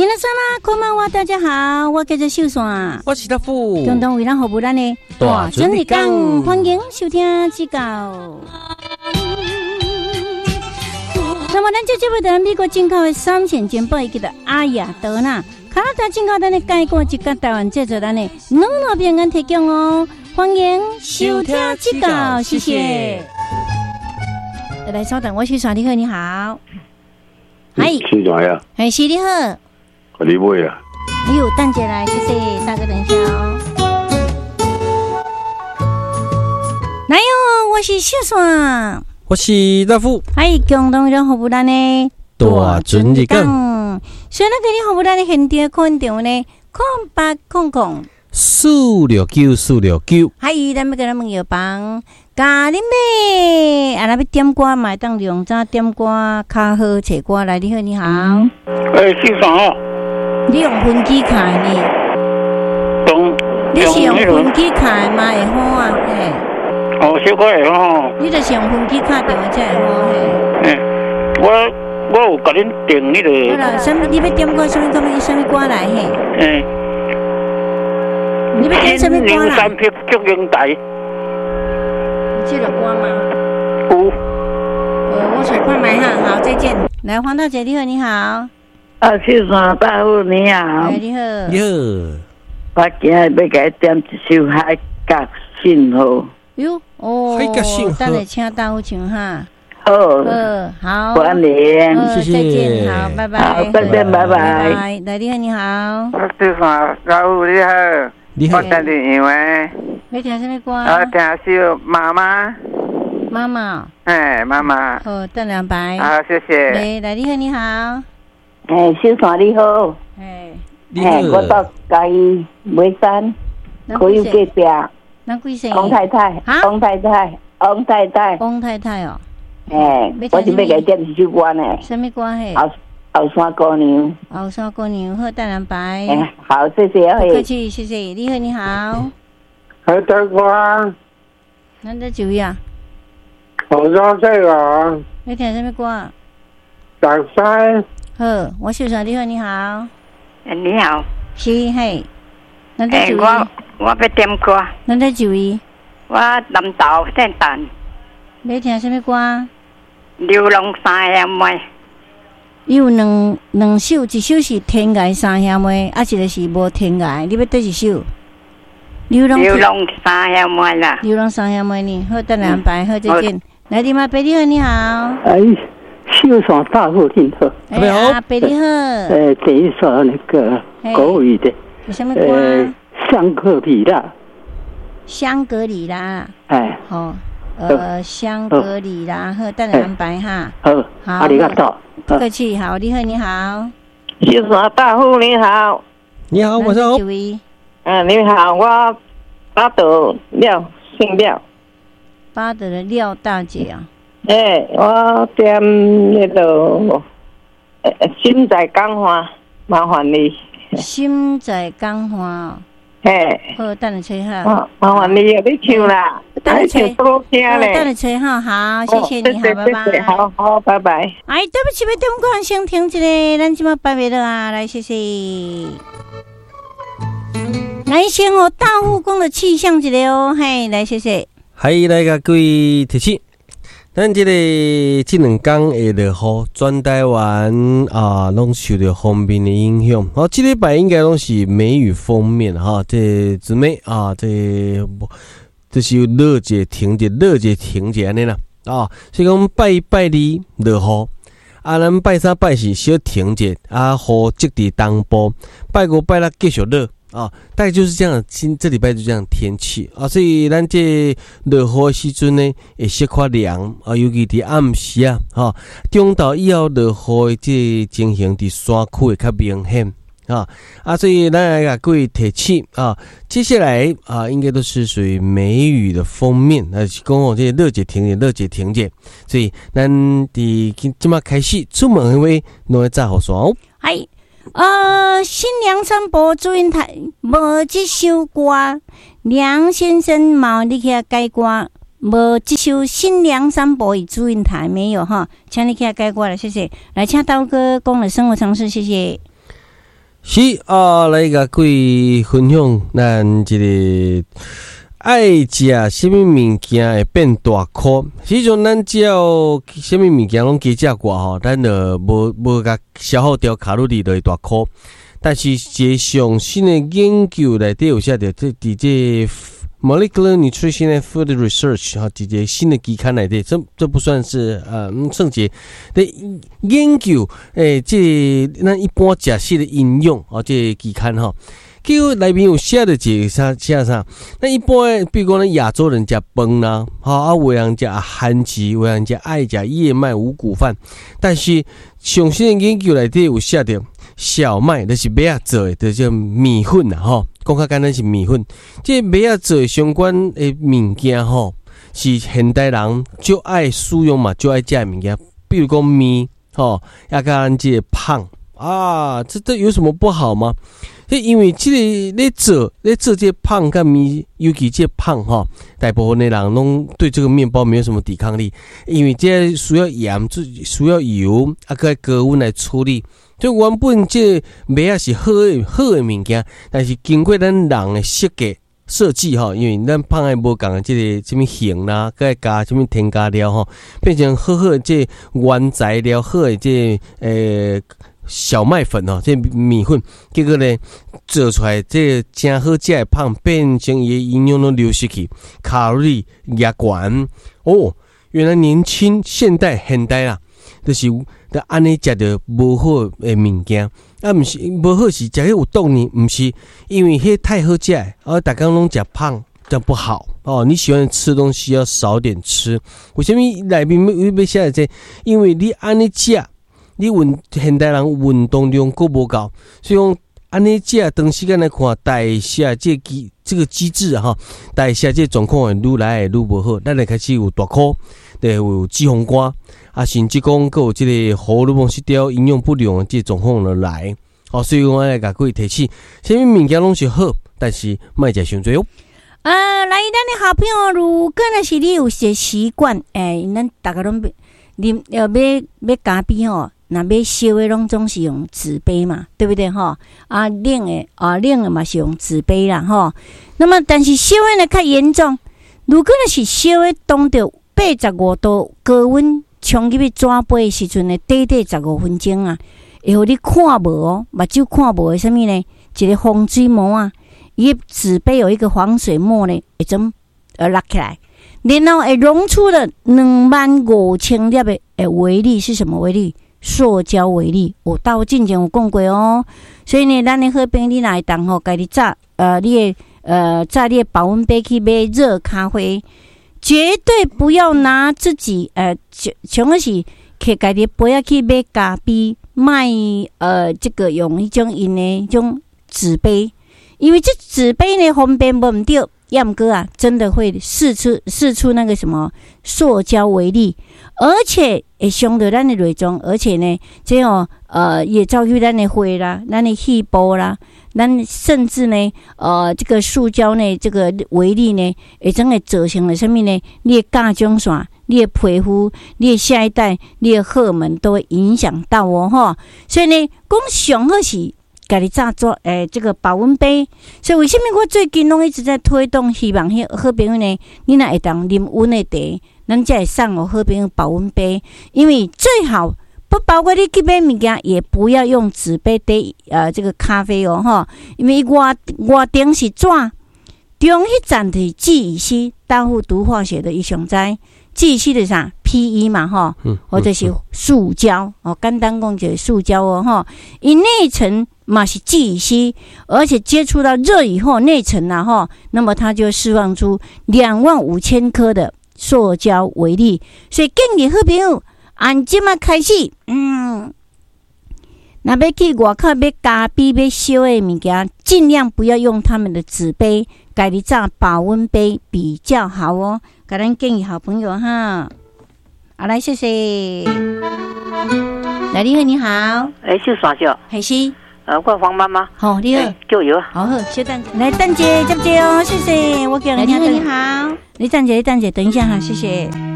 皆さんこんばんは，大家好，我叫做秀山，我是大富，共同為咱服務咱的大准日講，歡迎收聽這個。那麼咱這節目的美國進口的三線珍寶，叫做阿亞德娜，加拿大進口咱的蓋過一個台灣製作咱的乳酪餅乾提供哦，歡迎收聽這個，謝謝。來，稍等，我秀山，你好，你好，嗨，秀山呀，嘿，是你好。你買啊！哎呦，等下來，謝謝大哥，等一下哦。來喲，我是秀山，我是大富，哎，共同讓服務咱的大准日講。所以咱今日服務咱的現場空調呢，0800 469 469。嗨，咱欲共咱問藥房，共恁買，啊，若欲點歌嘛會當用怎點歌較好揣歌來？你好，你好。欸，秀山哦。你用分機卡呢？你是用分機卡嘛會好啊？嘿。哦，小可會好。你就是用分機卡電話才會好嘿。嘿，我有共恁訂彼個。好啦，啥物？你欲點歌？啥物歌？啥物歌來嘿？嘿。你欲點啥物歌啦？梁山泊祝英台。有這个歌嗎？有。我揣看覓哈，好，再見。來，黃大姐，你好，你好。啊，秀山大富你好。你好。你好。我今日欲共你點一首《海角信號》。喲，哦，海角信號。等下請大富唱哈。好。好。歡迎。謝謝。再見，好，拜拜。好，再見，拜拜。來，你好，你好。秀山大富你好。你好。我聽電話。欲聽啥物歌？我聽首媽媽。媽媽。哎，媽媽。好，等兩擺。好，謝謝。來，你好，你好。欸，秀山你好。欸，欸，我到嘉義眉山，可以隔壁。咱貴姓？王太太。王太太，王太太。王太太哦。欸，我是欲共你點一首歌呢。啥物歌嘿？後山姑娘。後山姑娘，好，等兩擺。欸，好，謝謝。不客氣，謝謝。你好，你好。好大哥。咱這幾位啊？後山這個。欲聽啥物歌？大山。好，我秀山，你好，你好。欸，你好。是嘿。欸，我欲點歌。咱這幾位？我南投姓陳。欲聽啥物歌？流浪三兄妹。伊有兩首，一首是天涯三兄妹，啊，一个是無天涯。你欲佗一首？流浪三兄妹啦。流浪三兄妹呢？好，等下安排。好，再見。來，你媽伯你好，你好。哎。秀山大富你好，你好，阿伯你好。等一首那個國語的，什麼歌？香格里拉。香格里拉。哎。好，香格里拉，好，等下安排哈。好，好，阿里嘎多。不客氣，好，你好，你好。秀山大富你好。你好，晚上好。嗯，你好，我八德廖，姓廖。八德的廖大姐啊。欸，我點彼个心在江岸，麻煩你。心在江岸。嘿。好，等下揣哈。麻煩你，你唱啦。等下揣。多聽咧。等下揣哈，好，謝謝你，好，拜拜。好好，拜拜。哎，對不起，欲點歌，先停一下，咱這馬拜袂落啊，來，謝謝。來，先予大富講的氣象一下哦，嘿，來，謝謝。嗨，來共各位提醒。咱這個這兩工會落雨，全台灣啊，攏受著鋒面的影響。好，這禮拜應該攏是梅雨鋒面哈，這姊妹啊，這就是落一下停一下，落一下停一下按呢啦啊。所以講拜拜二落雨，啊，咱拜三拜四小停一下，啊，雨積佇東部，拜五拜六繼續落。啊，大概就是這樣，今這禮拜就這樣天氣啊，所以咱這落雨的時陣呢，會小可涼啊，尤其佇暗時啊，吼，中晝以後落雨的這個情形，佇山區會較明顯啊，啊，所以咱來共各位提醒啊，接下來啊，應該都是屬於梅雨的鋒面，那是講哦，這個落一下停一下，落一下停一下，所以咱佇這馬開始出門的話，攏愛紮雨傘哦。哎。新梁山伯祝英台無這首歌，梁先生嘛你去遐改歌，無這首新梁山伯與祝英台沒有哈，請你去遐改歌了，謝謝。來，請刀哥講的生活常識，謝謝。是啊，來共各位分享咱這个愛食啥物物件會變大箍。實際上，咱只要啥物物件攏加食寡吼，咱就無無共消耗掉卡路里，就會大箍。但是，一个上新的研究內底有寫著，這佇這 Molecular Nutrition and Food Research 吼，一个新的期刊內底，這不算是算一個研究，這個咱一般食食的營養哦，這个期刊吼。結果內面有寫著一個啥寫啥？咱一般，比如講咱亞洲人食飯啦，吼啊，有人食番薯，有人食愛食燕麥五穀飯。但是上新的研究內底有寫著，小麥就是麥仔做的，就是麵粉啦，吼。講較簡單是麵粉。這麥仔做的相關的物件吼，是現代人足愛使用嘛，足愛食的物件，比如講麵，吼，抑佮咱這个麭啊，這有什麼不好嗎？這因為這個咧做這個麭佮麵，尤其這個麭吼，大部分的人攏對這個麵包沒有什麼抵抗力，因為這需要鹽，需要油，啊，閣高溫來處理。就原本這個麥仔是好的好的物件，但是經過咱人的設計吼，因為咱麭的無仝的這个啥物形啦，閣愛加啥物添加料吼，變成好好的這個原材料，好的這个小麥粉吼，這麵粉，結果呢做出來這个誠好食的麭，變成伊的營養攏流失去，卡路里也懸哦。原來年輕現代現代啦，就是就按呢食著無好的物件，啊，毋是無好是食彼有毒呢？毋是，因為彼太好食，啊，逐工攏食麭，這樣不好哦。你喜歡吃東西要少點吃。為啥物內面欲寫這個？因為你按呢食，你運現代人運動量閣無夠，所以講按呢食，長時間來看，代謝這機這個機制哈，代謝這狀況會愈來愈無好，咱會開始有大箍，就會有脂肪肝，啊，甚至講閣有這个荷爾蒙失調、營養不良的這個狀況就來。哦，所以我來共各位提醒，啥物物件攏是好，但是莫食傷濟哦。啊，來，咱的好朋友，如果若是你有一个習慣，咱逐家攏啉欲買咖啡吼，若買燒的攏總是用紙杯嘛，對不對吼？啊，冷的啊，冷的嘛是用紙杯啦吼。那麼，但是燒的呢較嚴重，如果若是燒的當著85度高溫沖入去紙杯的時陣呢，短短15分鐘啊，會予你看無哦，目睭看無的啥物呢？一个防水膜啊，伊紙杯有一個防水膜呢，會怎落起來，然後會溶出了25,000粒的微粒，是什麼微粒？塑膠微粒，有到進前有講過哦。所以呢，咱的好朋友，你若會當吼，家己紮你的紮你的保溫杯去買熱咖啡，絕對不要拿自己像像是摕家己杯仔去買咖啡，賣這個用彼種𪜶的種紙杯，因為這紙杯呢方便無毋對，抑毋過啊，真的會釋出那個什麼塑膠微粒，而且會傷著咱的內臟，而且呢，這哦也走去咱的血啦，咱的細胞啦，咱甚至呢，這個塑膠呢，這個微粒呢，會怎會造成了啥物呢？你的甲狀腺、你的皮膚、你的下一代、你的荷爾蒙都會影響到哦，吼。所以呢，講上好是家己紮做這個保溫杯。所以為啥物我最近攏一直在推動，希望彼好朋友呢，你若會當啉溫的茶，咱才會送予好朋友保溫杯，因為最好不包括你去買物件，也不要用紙杯佇這個咖啡哦，吼，因為外外頂是紙，中彼層就是聚乙烯，大戶讀化學的伊上知，聚乙烯就是啥？PE 嘛，吼，或者是塑膠哦，簡單講就是塑膠哦，吼，伊內層嘛是聚乙烯，而且接觸到熱以後，內層啊，吼，那麼它就釋放出25,000顆的塑膠微粒，所以建議好朋友，按這馬開始，若欲去外口買咖啡、買燒的物件，盡量不要用他們的紙杯，家己紮保溫杯比較好哦。共咱建議好朋友哈，好來，謝謝。來，你好，你好。欸，秀山少。係是。我黃媽媽。好，你好。叫油。好好，小等，來等者，接者哦，謝謝。我叫你。你好，你好。你等者，你等者，等一下哈，謝謝。